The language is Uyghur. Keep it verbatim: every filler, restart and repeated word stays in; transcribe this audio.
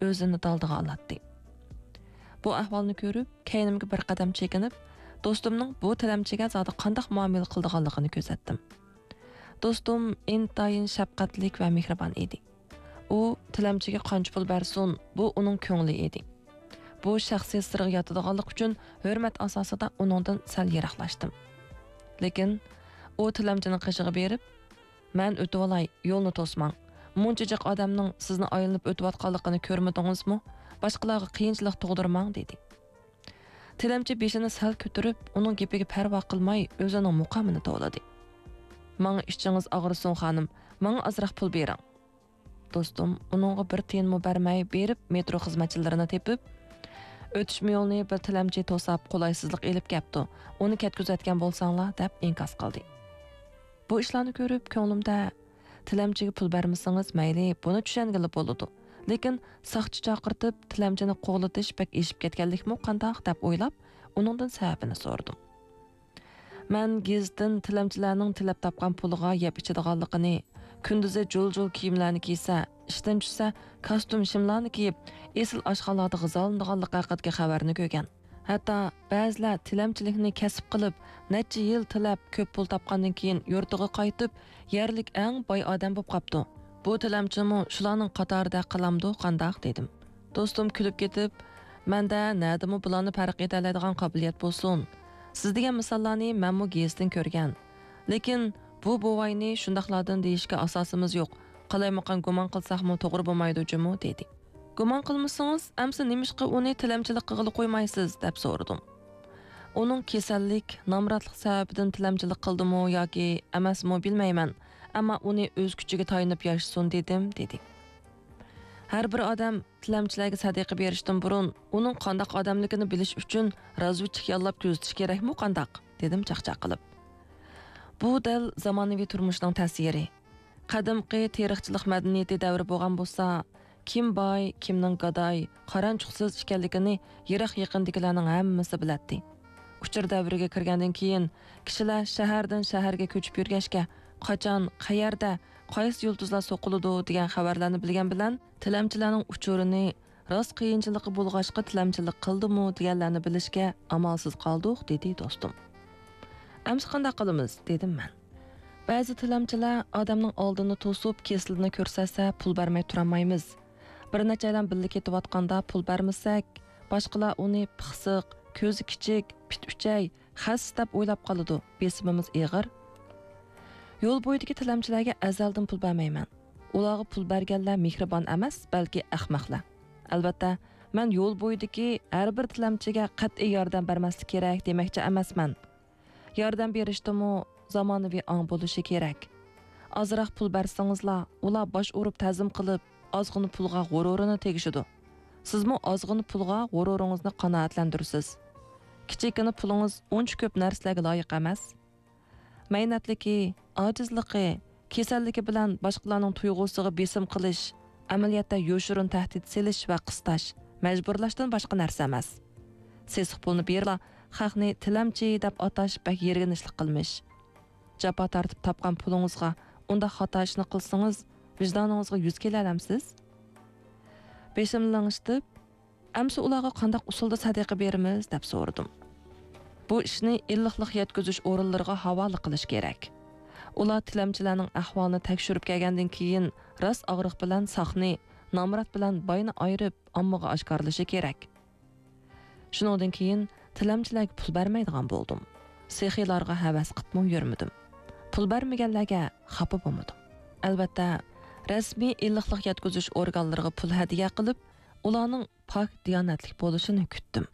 ئۆزىنى دالدىغا ئالاتتى. بۇ ئەھۋالنى كۆرۈپ، كەينىمگە بىر قەدەم چېكىنىپ، دوستۇمنىڭ بۇ تىلەمچىگە زادى قانداق مۇئامىلە قىلىدىغانلىقىنى كۆزەتتىم. دوستۇم ئىنتايىن شەپقەتلىك ۋە مېھرىبان ئىدى. ئۇ تىلەمچىگە قانچە پۇل بەرسۇن، بۇ ئۇنىڭ كۆڭلى ئىدى. بۇ شەخسىي سىرغا ياتىدىغانلىقى ئۈچۈن ھۆرمەت ئاساسىدا ئۇنىڭدىن سەل يىراقلاشتىم. لېكىن ئۇ تىلەمچىنىڭ قېشىغا بېرىپ، «مەن ئۆتۈۋالاي، يولنى توسماڭ. مۇنچە جىق ئادەمنىڭ سىزنى ئايلىنىپ ئۆتۈۋاتقانلىقىنى كۆرمىدىڭىزمۇ؟ باشقىلارغا قىيىنچىلىق تۇغدۇرماڭ» دېدى. تىلەمچى بېشىنى سەل كۆتۈرۈپ، ئۇنىڭ گېپىگە پەرۋا قىلماي، ئۆزىنىڭ مۇقامىنى توۋلىدى. «ماڭا ئىچىڭىز ئاغرىسۇن، خانىم، ماڭا ئازراق پۇل بېرىڭ.» دوستۇم ئۇنىڭغا بىر تىيىنمۇ بەرمەي بېرىپ، مېترو خىزمەتچىلىرىنى تېپىپ، «ئۆتۈش يولىنى بىر تىلەمچى توساپ، قولايسىزلىق ئېلىپ كەپتۇ، ئۇنى كەتكۈزۈۋەتكەن بولساڭلار» دەپ ئىنكاس قىلدى. بۇ ئىشلارنى كۆرۈپ، كۆڭلۈمدە، «تىلەمچىگە پۇل بەرمىسىڭىز مەيلى، بۇنى چۈشەنگىلى بولىدۇ. لېكىن ساقچى چاقىرتىپ، تىلەمچىنى قوغلىتىش بەك ئېشىپ كەتكەنلىكمۇ قانداق؟» دەپ ئويلاپ، ئۇنىڭدىن سەۋەبىنى سورىدىم. «مەن گېزىتتىن تىلەمچىلەرنىڭ تىلەپ تاپقان پۇلىغا يەپ ئىچىدىغانلىقىنى، كۈندۈزى جۇل-جۇل كىيىملەرنى كىيسە، ئىشتىن چۈشسە، كاستيۇم-شىملارنى كىيىپ، ئېسىل ئاشخانىلاردا غىزالىنىدىغانلىقى ھەققىدىكى خەۋەرنى كۆرگەن. ھەتتا بەزىلەر تىلەمچىلىكنى كەسىپ قىلىپ، نەچچە يىل تىلەپ، كۆپ پۇل تاپقاندىن كېيىن يۇرتىغا قايتىپ، يەرلىك ئەڭ باي ئادەم بولۇپ قاپتۇ. بۇ تىلەمچىمۇ شۇلارنىڭ قاتارىدا قالامدۇ قانداق؟» دېدىم. دوستۇم كۈلۈپ كېتىپ، «مەندە نەدىمۇ بۇلارنى پەرق ئېتەلەيدىغان قابىلىيەت بولسۇن. سىز دېگەن مىساللارنى مەنمۇ گېزىتتىن كۆرگەن. لېكىن بۇ بوۋاينى شۇنداقلاردىن دېيىشكە ئاساسىمىز يوق. قالايمىقان گۇمان قىلساقمۇ توغرا بولمايدۇ جۇمۇ» دېدى. «گۇمان قىلمىسىڭىز، ئەمسە نېمىشقا ئۇنى تىلەمچىلىك قىلغىلى قويمايسىز؟» دەپ سورىدىم. «ئۇنىڭ كېسەللىك، نامراتلىق سەۋەبىدىن تىلەمچىلىك قىلدىمۇ ياكى ئەمەسمۇ بىلمەيمەن، ئەمما ئۇنى ئۆز كۈچىگە تايىنىپ ياشىسۇن دېدىم» دېدى. «ھەر بىر ئادەم تىلەمچىلەرگە سەدىقە بېرىشتىن بۇرۇن، ئۇنىڭ قانداق ئادەملىكىنى بىلىش ئۈچۈن رازۋېدچىك ياللاپ كۆزىتىش كېرەكمۇ قانداق؟» دېدىم چاقچاق قىلىپ. بۇ دەل زامانىۋى تۇرمۇشنىڭ تەسىرى. قەدىمكى تېرىقچىلىق مەدەنىيىتى دەۋرى بولغان بولسا، كىم باي، كىمنىڭ گاداي، قارانچۇقسىز ئىكەنلىكىنى يىراق-يېقىندىكىلەرنىڭ ھەممىسى بىلەتتى. ئۇچۇر دەۋرىگە كىرگەندىن كېيىن، كىشىلەر شەھەردىن شەھەرگە كۆچۈپ يۈرگەچكە، قاچان، قەيەردە، قايسى يۇلتۇزلار سوقۇلىدۇ دېگەن خەۋەرلەرنى بىلگەن بىلەن، تىلەمچىلەرنىڭ ئۇچۇرىنى، راست قىيىنچىلىقى بولغاچقا تىلەمچىلىك قىلدىمۇ دېگەنلەرنى بىلىشكە ئامالسىز قالدۇق، دېدى دوستۇم. ئەمسە قانداق قىلىمىز؟ دېدىم مەن. بەزى تىلەمچىلەر ئادەمنىڭ ئالدىنى توسۇپ، كېسىلىنى كۆرسەتسە، پۇل بەرمەي تۇرالمايمىز. بىر نەچچەيلەن بىللە كېتىۋاتقاندا پۇل بەرمىسەك، باشقىلار ئۇنى پىخسىق، كۆزى كىچىك، پىت ئۈچەي، خەس دەپ ئويلاپ قالىدۇ، بېسىمىمىز ئېغىر. يول بويىدىكى تىلەمچىلەرگە ئەزەلدىن پۇل بەرمەيمەن. ئۇلارغا پۇل بەرگەنلەر مېھرىبان ئەمەس، بەلكى ئەخمەقلەر. ئەلۋەتتە، مەن يول بويىدىكى ھەر بىر تىلەمچىگە قەتئىي ياردەم بەرمەسلىك كېرەك دېمەكچى ئەمەسمەن. ياردەم بېرىشتىمۇ زامانىۋى ئاڭ بولۇشى كېرەك. ئازراق پۇل بەرسىڭىزلا، ئۇلار باش ئۇرۇپ تەزىم قىلىپ، ئازغىنا پۇلغا غۇرۇرىنى تېگىشىدۇ. سىزمۇ ئازغىنا پۇلغا غۇرۇرىڭىزنى قانائەتلەندۈرىسىز. كىچىككىنە پۇلىڭىز ئۇنچە كۆپ نەرسىلەرگە لايىق ئەمەس. مەينەتلىكى، ئاجىزلىقى، كېسەللىكى بىلەن باشقىلارنىڭ تۇيغۇسىغا بېسىم قىلىش، ئەمەلىيەتتە يوشۇرۇن تەھدىت سېلىش ۋە قىستاش، مەجبۇرلاشتىن باشقا نەرسە ئەمەس. سېسىق پۇلنى بېرىپلا خەقنى تىلەمچى دەپ ئاتاش بەك يىرگىنچلىق قىلمىش. جاپا تارتىپ تاپقان پۇلىڭىزغا ئۇنداق خاتا ئىشنى قىلسىڭىز، ۋىجدانىڭىزغا يۈز كېلەلەمسىز؟ بېشىمنى لىڭشىتىپ، «ئەمسە ئۇلارغا قانداق ئۇسۇلدا سەدىقە بېرىمىز؟» دەپ سورىدىم. بۇ ئىشنى ئىللىقلىق يەتكۈزۈش ئورۇنلىرىغا ھاۋالە قىلىش كېرەك. ئۇلار تىلەمچىلەرنىڭ ئەھۋالىنى تەكشۈرۈپ كەلگەندىن كېيىن، راست ئاغرىق بىلەن ساقنى، نامرات بىلەن باينى ئايرىپ، ئاممىغا ئاشكارىلىشى كېرەك. شۇنىڭدىن كېيىن تىلەمچىلەرگە پۇل بەرمەيدىغان بولدۇم. سېخىيلارغا ھەۋەس قىپمۇ يۈرمىدىم. پۇل بەرمىگەنلەرگە خاپا بولمىدىم. ئەلۋەتتە، رەسمىي ئىللىقلىق يەتكۈزۈش ئورگانلىرىغا پۇل ھەدىيە قىلىپ، ئۇلارنىڭ پاك دىيانەتلىك بولۇشىنى كۈتتۈم.